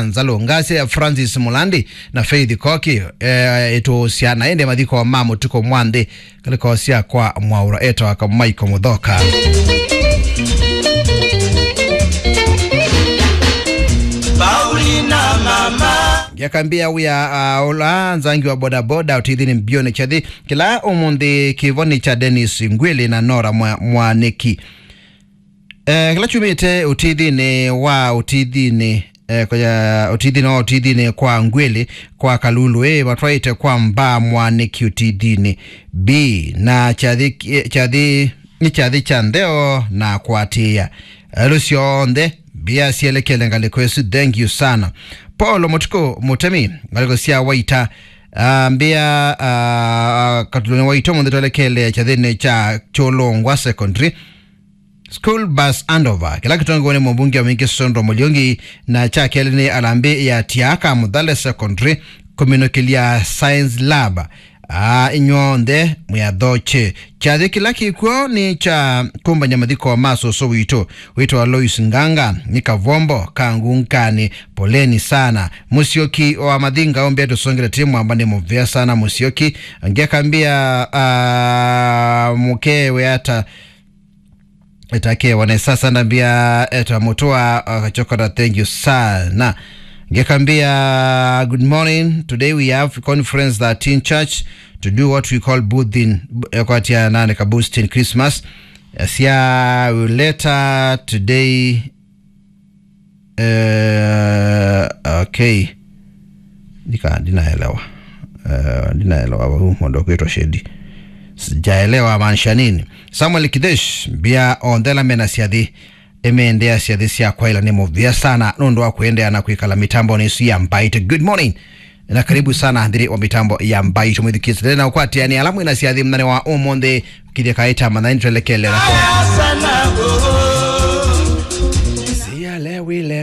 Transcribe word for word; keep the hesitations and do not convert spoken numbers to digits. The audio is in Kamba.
Nzalu, ngasya ya Francis Mulandi na Faith Koki, eh, ĩtũũsya na ĩndĩ mathiko ma mũtuko mwa nthĩ, ngalĩko sya kwa Mwaũra etawa Kamaiko Mũthoka. Paulina mama. Ngĩakambia wĩa, ah, ũla nzangi wa bodaboda ũtithinĩ mbyonĩ kyathi kĩla ũmũnthĩ kĩvoni kya Dennis Ngwili na Nora Mwa-, Mwanĩki. Eh, kĩla kyumĩte ũtithinĩ wa ũtithinĩ, eh, kũya, ũtithinĩ wa ũtithinĩ kwa Ngwili kwa Kalulu, eh, matwaĩte kwa Mbaa Mwanĩki ũtithinĩ. B, na kyathi, kyathi, nĩ kyathi kya ntheo na kũatĩĩa. Elo syonthe, mbia syelekele ngalĩko ĩsu, thank you sana. Paul Mũtuku Mũtemi, ngalĩko sya Waita, ah, mbia, ah, katuloni Waita mũnthĩ twelekele kyathĩnĩ kya Kyũlũngwa Secondary. School bus handover, kĩla kĩtongowe nĩ mũmbunge wa Mwingi Sonro Mũliungi, na kya kelĩ nĩ alambĩ ya Tiaka Mũthale Secondary kũminũkĩlya Science Lab. Ah, inyw'onthe mwĩathokye. Kyathĩ kĩla kĩkw'o nĩ kya kũmbany'a mathiko ma sũsũ witũ, wĩtawa Lois Nganga, nĩ kavombo ka ngunganĩ. Poleni sana. Mũsyoki wa Mathinga ũmbĩa tũsongele tĩ mwamba nĩ mũvea sana Mũsyoki. Ngekambia, ah, mũkewe ata Etakewa ne sasa ndambia eta mũtũa akachokora, thank you sana. Ngekambia, good morning. Today we have conference thirteen church to do what we call boosting, ekwatia nane ka boosting Christmas. Sia later today. Eh, okay. Nika, ndinaelewa. Eh, ndinaelewa huu mũndũ kwĩtwa Shedi. Sijaelewa maanisha nini. Samuel Kidesh, mbia onthe ala mena syathi, ĩmendea syathi sya kwaĩla nĩ mũvea sana nũndũ wa kũendeea na kwĩkala mĩtambonĩ ĩsu ya Mbaitũ. Good morning. Na karibu sana nthĩnĩ wa mĩtambo ya Mbaitũ mwĩthukĩĩsya. Tena ũkwatĩanĩa ala mwĩna syathi mũthenya wa ũmũnthĩ, kĩthya kaĩ ta manthani twelekele nako.